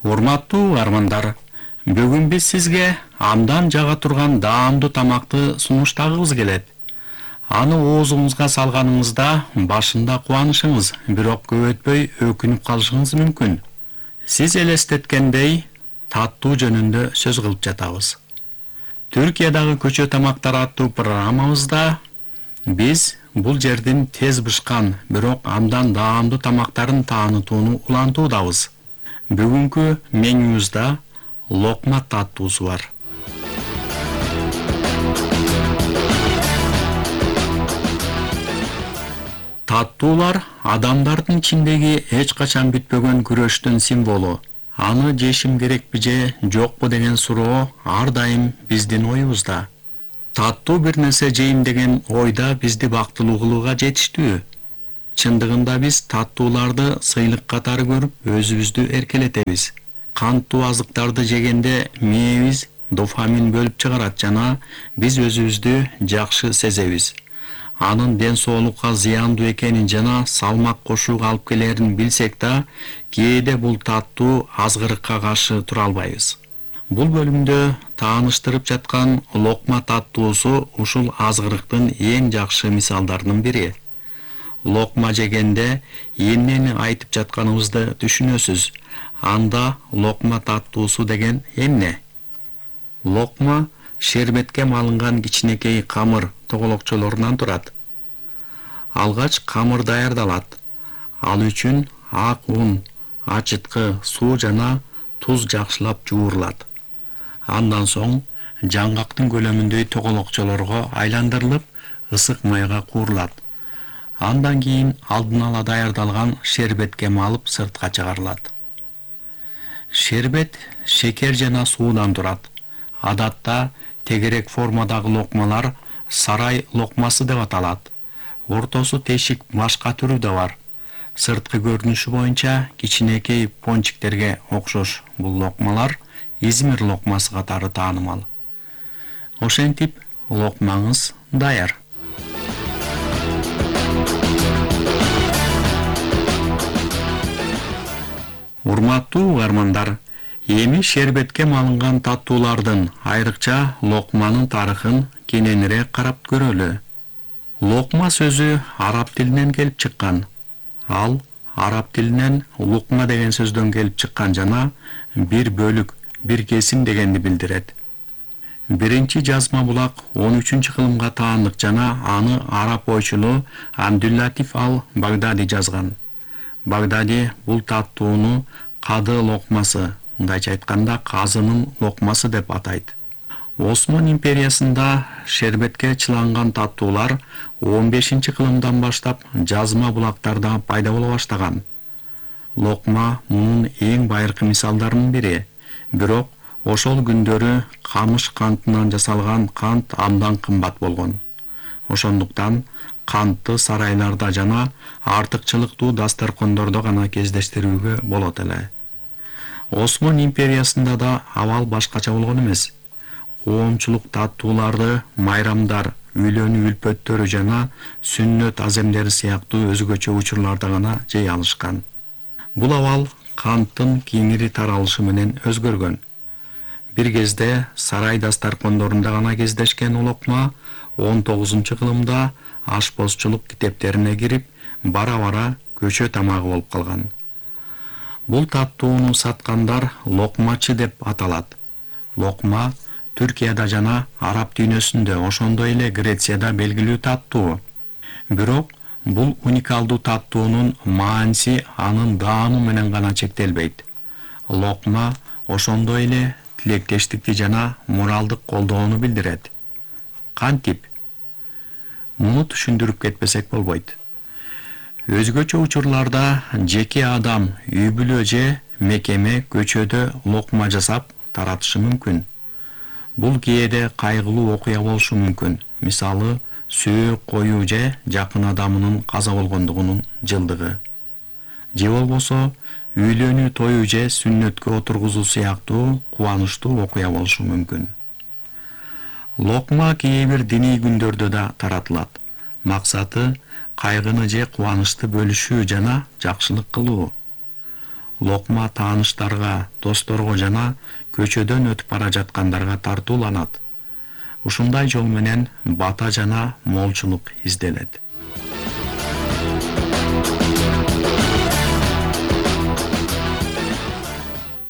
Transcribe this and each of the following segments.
Урматтуу угармандар, бүгүн биз сизге абдан жага турган даамдуу тамакты сунуштагыбыз келет. Аны оозуңузга салганыңызда башында кубанышыңыз, бирок көп өтпөй өкүнүп калышыңыз мүмкүн. Сиз элестеткендей таттуу жөнүндө сөз кылып жатабыз. Түркиядагы көчө тамактары аттуу программабызда биз бул жердин тез бышкан, бирок абдан даамдуу тамактарын таанытууну улантуудабыз. Бүгүнкү менюбузда локма таттуусу бар. Таттуулар адамдардын ичиндеги эч качан бүтпөгөн күрөштүн символу. Аны жешим керекпи же жокпу деген суроо ар дайым биздин оюбузда. Таттуу бир нерсе жейм деген ойда бизди бактылуу кылууга жетиштүү. Чындыгында биз таттууларды сыйлык катары көрүп, өзүбүздү эркелетебиз. Канттуу азыктарды жегенде мээбиз дофамин бөлүп чыгарат жана биз өзүбүздү жакшы сезебиз. Анын ден соолукка зыяндуу экенин жана салмак кошууга алып келерин билсек да, кээде бул таттуу азгырыкка каршы тура албайбыз. Бул бөлүмдө тааныштырып жаткан локма таттуусу ушул азгырыктын эң жакшы мисалдарынын бири. Локма жегенде эмнени айтып жатканыбызды түшүнөсүз. Анда локма таттуусу деген эмне? Локма шербетке малынган кичинекей камыр тоголокчолорунан турат. Алгач камыр даярдалат. Ал үчүн ак ун, ачыткы, суу жана туз жакшылап жуурулат. Андан соң жаңгактын көлөмүндөй тоголокчолорго айландырылып, ысык майга куурулат. Андан кийин алдын ала даярдалган шербетке малып сыртка чыгарылат. Шербет шекер жана суудан турат. Адатта тегерек формадагы локмалар сарай локмасы деп аталат. Ортосу тешик башка түрү да бар. Сырткы көрүнүшү боюнча кичинекей пончиктерге окшош бул локмалар Измир локмасы катары таанымал. Ошентип локмаңыз даяр. Урматтуу угармандар, эми шербетке малынган таттуулардын, айрыкча локманын тарыхын кененирээк карап көрөлү. Локма сөзү араб тилинен келип чыккан. Ал араб тилинен лукма деген сөздөн келип чыккан жана бир бөлүк, бир кесим дегенди билдирет. Биринчи жазма булак 13-кылымга таандык жана аны араб ойчулу Абдул-Латиф ал-Багдади жазган. Багдади бул таттууну кады локмасы, мындайча айтканда казынын локмасы деп атайт. Осман империясында шербетке чыланган таттуулар 15-кылымдан баштап жазма булактарда пайда боло баштаган. Локма мунун эң байыркы мисалдарынын бири. Бирок ошол күндөрү камыш кантынан жасалган кант абдан кымбат болгон. Ошондуктан кантты сарайларда жана артыкчылыктуу дасторкондордо гана кездештирүүгө болот эле. Осман империясында да абал башкача болгон эмес. Коомчулук таттууларды майрамдар, үйлөнүү үлпөттөрү жана сүннөт аземдери сыяктуу өзгөчө учурларда гана жей алышкан. Бул абал канттын кеңири таралышы менен өзгөргөн. Бир кезде сарай дасторкондорунда гана кездешкен локма 19-кылымда ашпозчулук китептерине кирип, бара-бара көчө тамагы болуп калган. Бул таттууну саткандар локмачы деп аталат. Локма Түркияда жана араб дүйнөсүндө, ошондой эле Грецияда белгилүү таттуу. Бирок бул уникалдуу таттуунун мааниси анын даамы менен гана чектелбейт. Локма ошондой эле тилектештикти жана моралдык колдоону билдирет. Кантип? Муну түшүндүрүп кетпесек болбойт. Өзгөчө учурларда жеке адам үй бүлө же мекеме көчөдө локма жасап таратышы мүмкүн. Бул кээде кайгылуу окуя болушу мүмкүн. Мисалы, сөөк коюу же жакын адамынын каза болгондугунун жылдыгы. Же болбосо үйлөнүү тою же сүннөткө отургузуу сыяктуу кубанычтуу окуя болушу мүмкүн. Локма кээ бир диний күндөрдө да таратылат. Максаты кайгыны же кубанычты бөлүшүү жана жакшылык кылуу. локма тааныштарга, досторго жана көчөдөн өтүп бара жаткандарга тартууланат. Ушундай жол менен бата жана молчулук изделет.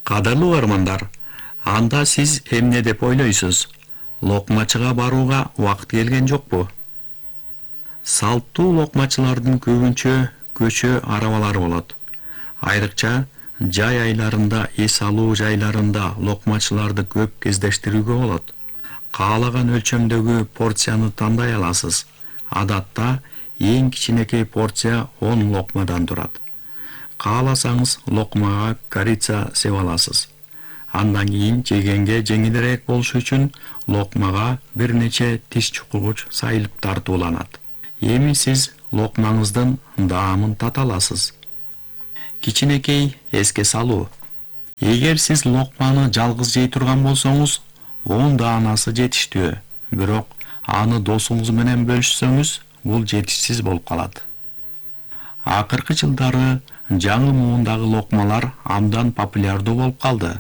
Кадырлуу угармандар, анда сиз эмне деп ойлойсуз? Локмачыга барууга убакыт келген жокпу? Салттуу локмачылардын көбүнчө көчө арабалары болот. Айрыкча жай айларында, эс алуу жайларында локмачыларды көп кездештирүүгө болот. Каалаган өлчөмдөгү порцияны тандай аласыз. Адатта эң кичинекей порция 10 локмадан турат. Кааласаңыз локмага корица сеп аласыз. Андан кийин жегенге жеңилирээк болушу үчүн локмага бир нече тиш чукугуч сайылып тартууланат. Эми сиз локмаңыздын даамын тата аласыз. Кичинекей эске салуу. Эгер сиз локманы жалгыз жей турган болсоңуз, 10 даанасы жетиштүү. Бирок аны досуңуз менен бөлүшсөңүз, бул жетишсиз болуп калат. Акыркы жылдары жаңы муундагы локмалар абдан популярдуу болуп калды.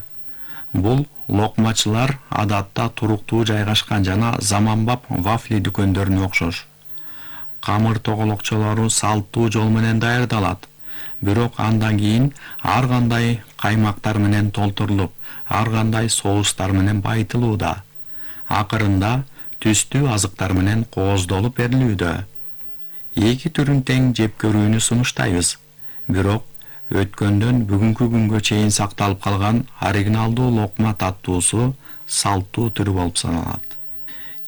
Бул локмачылар адатта туруктуу жайгашкан жана заманбап вафли дүкөндөрүнө окшош. Камыр тоголокчолору салттуу жол менен даярдалат. Бирок андан кийин ар кандай каймактар менен толтурулуп, ар кандай соустар менен байытылууда. Акырында түстүү азыктар менен кооздолуп берилүүдө. Эки түрүн тең жеп көрүүнү сунуштайбыз. Бирок өткөндөн бүгүнкү күнгө чейин сакталып калган оригиналдуу локма таттуусу салттуу түрү болуп саналат.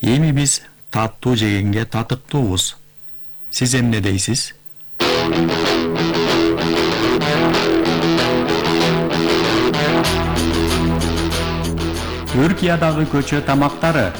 Эми биз таттуу жегенге татыктуубуз. Сиз эмне дейсиз? Түркиядагы көчө тамактары.